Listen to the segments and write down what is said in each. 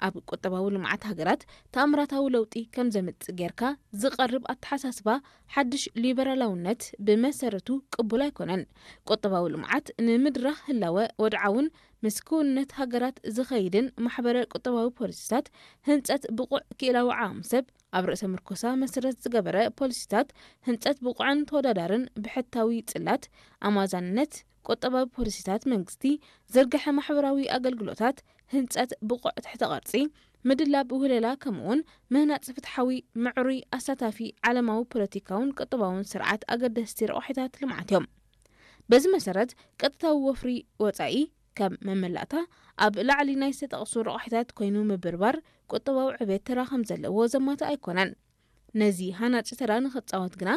ኣብ ቁጠባዊ ልምዓት ሃገራት ተኣምራታዊ ለውጢ ከም ዘምጽእ ጌርካ ዝቐርብ ኣተሓሳስባ ሓድሽ ሊበራላውነት ብመሰረቱ ቅቡል ኣይኮነን። ቁጠባዊ ልምዓት ንምድራኽ ህላወ ወድዓውን ምስ ክውንነት ሃገራት ዝኸይድን ማሕበረ ቁጠባዊ ፖሊሲታት፣ ህንጸት ብቑዕ ክኢላዊ ዓቕሚ ሰብ፣ ኣብ ርእሰ ምርኮሳ መሰረት ዝገበረ ፖሊሲታት፣ ህንጸት ብቑዕን ተወዳዳርን ብሕታዊ ጽላት፣ ኣማዛንነት፣ ቁጠባዊ ፖሊሲታት መንግስቲ፣ ዝርግሐ ማሕበራዊ ኣገልግሎታት፣ ህንጸት ብቑዕ ትሕተ ቅርጺ፣ ምድላብ ውህለላ፣ ከምኡውን ምህናጽ ፍትሓዊ፣ ምዕሩይ፣ ኣሳታፊ፣ ዓለማዊ ፖለቲካውን ቁጠባውን ስርዓት ኣገደስቲ ረቋሒታት ልምዓት እዮም። በዚ መሰረት፣ ቀጥታዊ ወፍሪ ወጻኢ ከም መመላእታ ኣብ ላዕሊ ናይ ዝተጠቕሱ ረቋሒታት ኮይኑ ምብርባር ቁጠባዊ ዕቤት ተራ ከም ዘለዎ ዘማትእ ኣይኮነን። ነዚ ሃናጺ ተራ ንኽጻወት ግና፣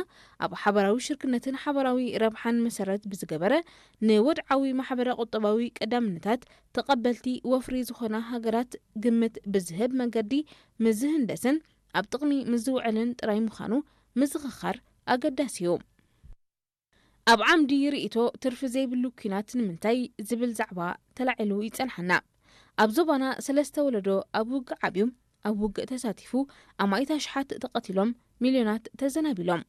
ኣብ ሓባራዊ ሽርክነትን ሓባራዊ ረብሓን መሰረት ብዝገበረ፣ ንወድዓዊ ማሕበረ ቁጠባዊ ቀዳምነታት ተቐበልቲ ወፍሪ ዝኾና ሃገራት ግምት ብዝህብ መንገዲ ምዝህንደስን ኣብ ጥቕሚ ምዝውዕልን ጥራይ ምዃኑ ምዝኽኻር ኣገዳሲ እዩ። ኣብ ዓምዲ ርእይቶ፣ ትርፊ ዘይብሉ ኲናት ንምንታይ ዝብል ዛዕባ ተላዒሉ ይጸንሓና። ኣብ ዞባና ሰለስተ ወለዶ ኣብ ውግእ ዓብዩ፣ ኣብ ውግእ ተሳቲፉ፣ ኣማኢት ኣሽሓት ተቐቲሎም፣ ሚልዮናት ተዘናቢሎም።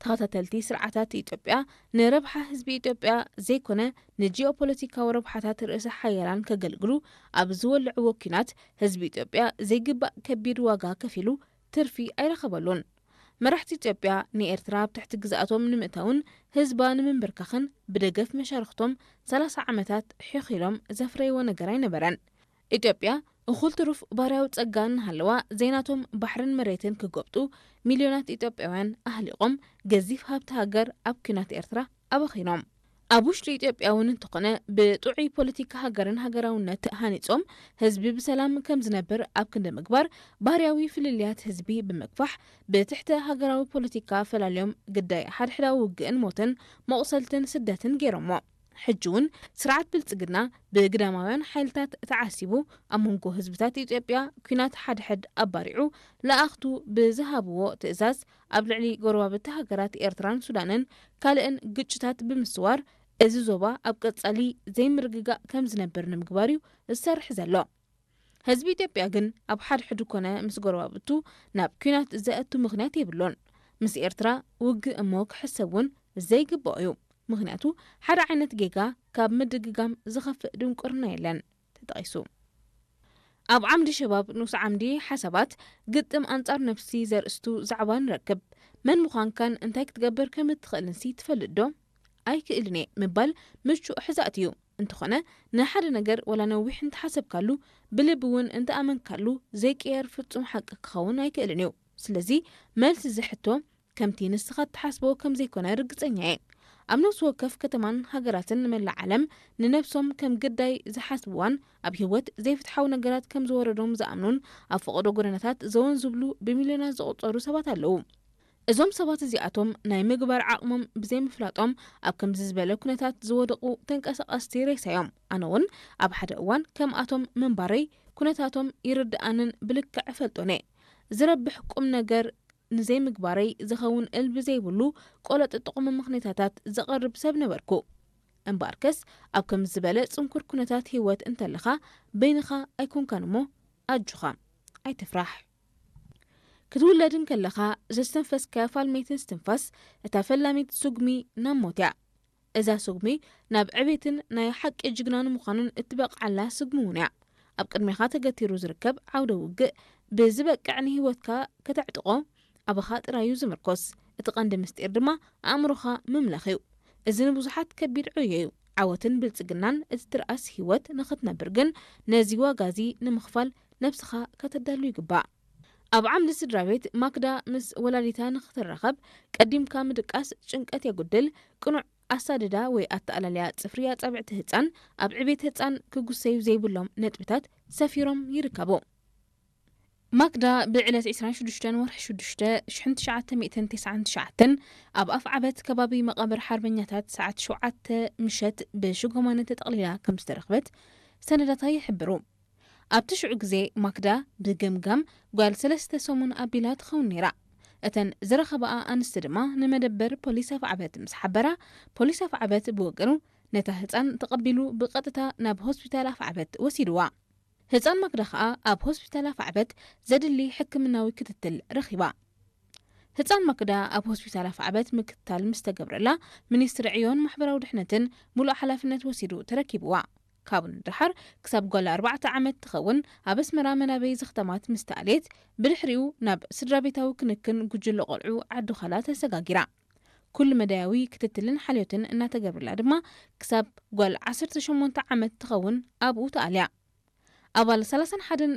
ተኸታተልቲ ስርዓታት ኢትዮጵያ ንረብሓ ህዝቢ ኢትዮጵያ ዘይኮነ ንጂኦፖለቲካዊ ረብሓታት ርእሰ ሓያላን ከገልግሉ ኣብ ዝወልዕዎ ኲናት፣ ህዝቢ ኢትዮጵያ ዘይግባእ ከቢድ ዋጋ ከፊሉ ትርፊ ኣይረኸበሉን። መራሕቲ ኢትዮጵያ ንኤርትራ ኣብ ትሕቲ ግዝኣቶም ንምእታውን ህዝባ ንምንብርካኽን ብደገፍ መሻርኽቶም ሰላሳ ዓመታት ሒኺሎም ዘፍረይዎ ነገር ኣይነበረን። ኢትዮጵያ እኹል ትሩፍ ባርያዊ ጸጋ እናሃለዋ ዘይናቶም ባሕርን መሬትን ክጎብጡ ሚልዮናት ኢትዮጵያውያን ኣህሊቖም ገዚፍ ሃብቲ ሃገር ኣብ ኲናት ኤርትራ ኣባኺኖም። ኣብ ውሽጢ ኢትዮጵያ እውን እንተኾነ ብጥዑይ ፖለቲካ ሃገርን ሃገራውነት ሃኒጾም ህዝቢ ብሰላም ከም ዝነብር ኣብ ክንዲ ምግባር ባህርያዊ ፍልልያት ህዝቢ ብምግፋሕ ብትሕተ ሃገራዊ ፖለቲካ ፈላልዮም ግዳይ ሓድሕዳዊ ውግእን ሞትን መቑሰልትን ስደትን ገይሮሞ። ሕጂ እውን ስርዓት ብልጽግና ብግዳማውያን ሓይልታት ተዓሲቡ ኣብ መንጎ ህዝብታት ኢትዮጵያ ኲናት ሓድሕድ ኣባሪዑ ለኣኽቱ ብዝሃብዎ ትእዛዝ ኣብ ልዕሊ ጎረባብቲ ሃገራት ኤርትራን ሱዳንን ካልእን ግጭታት ብምስዋር እዚ ዞባ ኣብ ቀጻሊ ዘይምርግጋእ ከም ዝነብር ንምግባር እዩ ዝሰርሕ ዘሎ። ህዝቢ ኢትዮጵያ ግን ኣብ ሓድሕዱ ኮነ ምስ ጎረባብቱ ናብ ኲናት ዘእቱ ምኽንያት የብሉን። ምስ ኤርትራ ውግእ እሞ ክሕሰብ እውን ዘይግብኦ እዩ። ምኽንያቱ ሓደ ዓይነት ጌጋ ካብ ምድግጋም ዝኸፍእ ድንቁርና የለን። ተጠቒሱ። ኣብ ዓምዲ ሸባብ ንኡስ ዓምዲ ሓሳባት ግጥም ኣንጻር ነፍሲ ዘርእስቱ ዛዕባ ንረክብ። መን ምዃንካን እንታይ ክትገብር ከም እትኽእልንሲ ትፈልጥ ዶ? ኣይክእልን እየ ምባል ምቹእ ሕዛእቲ እዩ። እንተኾነ ንሓደ ነገር ዋላ ነዊሕ እንተሓሰብካሉ፣ ብልቢ እውን እንተኣመንካሉ ዘይቅየር ፍጹም ሓቂ ክኸውን ኣይክእልን እዩ። ስለዚ መልሲ እዚ ሕቶ ከምቲ ንስኻ እትሓስቦ ከም ዘይኮነ ርግጸኛ እየ። ኣብ ነፍሲ ወከፍ ከተማን ሃገራትን ንመላእ ዓለም ንነብሶም ከም ግዳይ ዝሓስብዋን ኣብ ህይወት ዘይፍትሓዊ ነገራት ከም ዝወረዶም ዝኣምኑን ኣብ ፈቐዶ ጎደናታት ዘወን ዝብሉ ብሚልዮናት ዝቑጸሩ ሰባት ኣለዉ። እዞም ሰባት እዚኣቶም ናይ ምግባር ዓቕሞም ብዘይምፍላጦም ኣብ ከምዚ ዝበለ ኩነታት ዝወደቑ ተንቀሳቐስቲ ሬሳ እዮም። ኣነ እውን ኣብ ሓደ እዋን ከምኣቶም ምንባረይ ኩነታቶም ይርድኣንን ብልክዕ እፈልጦን እየ። ዝረብሕ ቁም ነገር ንዘይምግባረይ ዝኸውን እልቢ ዘይብሉ ቆለጢ ጥቑሚ ምኽንያታት ዘቕርብ ሰብ ነበርኩ። እምበኣርከስ ኣብ ከምዚ ዝበለ ጽንኩር ኩነታት ህይወት እንተለኻ በይንኻ ኣይኮንካን እሞ ኣጆኻ ኣይትፍራሕ። ክትውለድ እንከለኻ ዘስተንፈስካያ ፋልመይትን እስትንፋስ እታ ፈላሚት ስጉሚ ናብ ሞት እያ። እዛ ስጉሚ ናብ ዕቤትን ናይ ሓቂ ጅግና ንምዃንን እትበቕዓላ ስጉሚ እውን እያ። ኣብ ቅድሜኻ ተገቲሩ ዝርከብ ዓውደ ውግእ ብዝበቅዕ ንህይወትካ ከተዕጥቖ ኣባኻ ጥራይ እዩ ዝምርኮስ። እቲ ቀንዲ ምስጢር ድማ ኣእምሮኻ ምምላኽ እዩ። እዚ ንብዙሓት ከቢድ ዕዮ እዩ። ዓወትን ብልጽግናን እቲ ትርኣስ ህይወት ንኽትነብር ግን ነዚ ዋጋ እዚ ንምኽፋል ነብስኻ ከተዳሉ ይግባእ። ኣብ ዓምዲ ስድራ ቤት ማክዳ ምስ ወላዲታ ንኽትራኸብ ቀዲምካ ምድቃስ ጭንቀት የጉድል፣ ቅኑዕ ኣሳድዳ ወይ ኣተኣላልያ ጽፍሪ ኣጻብዕቲ ህጻን ኣብ ዕቤት ህጻን ክጉሰዩ ዘይብሎም ነጥብታት ሰፊሮም ይርከቡ። ማክዳ ብዕለት ዕስራን ሽዱሽተን ወርሒ ሽዱሽተ ሽሕን ትሽዓተ ሚእትን ተስዓን ትሽዓተን ኣብ ኣፍ ዓበት ከባቢ መቓብር ሓርበኛታት ሰዓት ሸውዓተ ምሸት ብሽጎማነ ተጠቕሊላ ከም ዝተረኽበት ሰነዳታ ይሕብሩ። ኣብቲ ሽዑ ግዜ ማክዳ ብገምጋም ጓል ሰለስተ ሰሙን ኣቢላ ትኸውን ነይራ። እተን ዝረኸባኣ ኣንስቲ ድማ ንመደበር ፖሊስ ኣፍዓበት ምስ ሓበራ፣ ፖሊስ ኣፍዓበት ብወገኑ ነታ ህጻን ተቐቢሉ ብቐጥታ ናብ ሆስፒታል ኣፍዓበት ወሲድዋ። ህፃን ማክዳ ከዓ ኣብ ሆስፒታል ኣፋዕበት ዘድሊ ሕክምናዊ ክትትል ረኺባ። ህፃን ማክዳ ኣብ ሆስፒታል ኣፋዕበት ምክትታል ምስ ተገብረላ፣ ሚኒስትሪ ዕዮን ማሕበራዊ ድሕነትን ሙሉእ ሓላፍነት ወሲዱ ተረኪብዋ። ካብኡ ንደሓር ክሳብ ጓል ኣርባዕተ ዓመት ትኸውን ኣብ ኣስመራ መናበይ ዘኽተማት ምስ ተኣልየት፣ ብድሕሪኡ ናብ ስድራ ቤታዊ ክንክን ጉጅለ ቆልዑ ዓዲ ዃላ ተሰጋጊራ። ኩሉ መዳያዊ ክትትልን ሓልዮትን እናተገብርላ ድማ ክሳብ ጓል ዓሰርተ ሸሞንተ ዓመት ትኸውን ኣብኡ ተኣልያ። ኣባል ሰላሳን ሓደን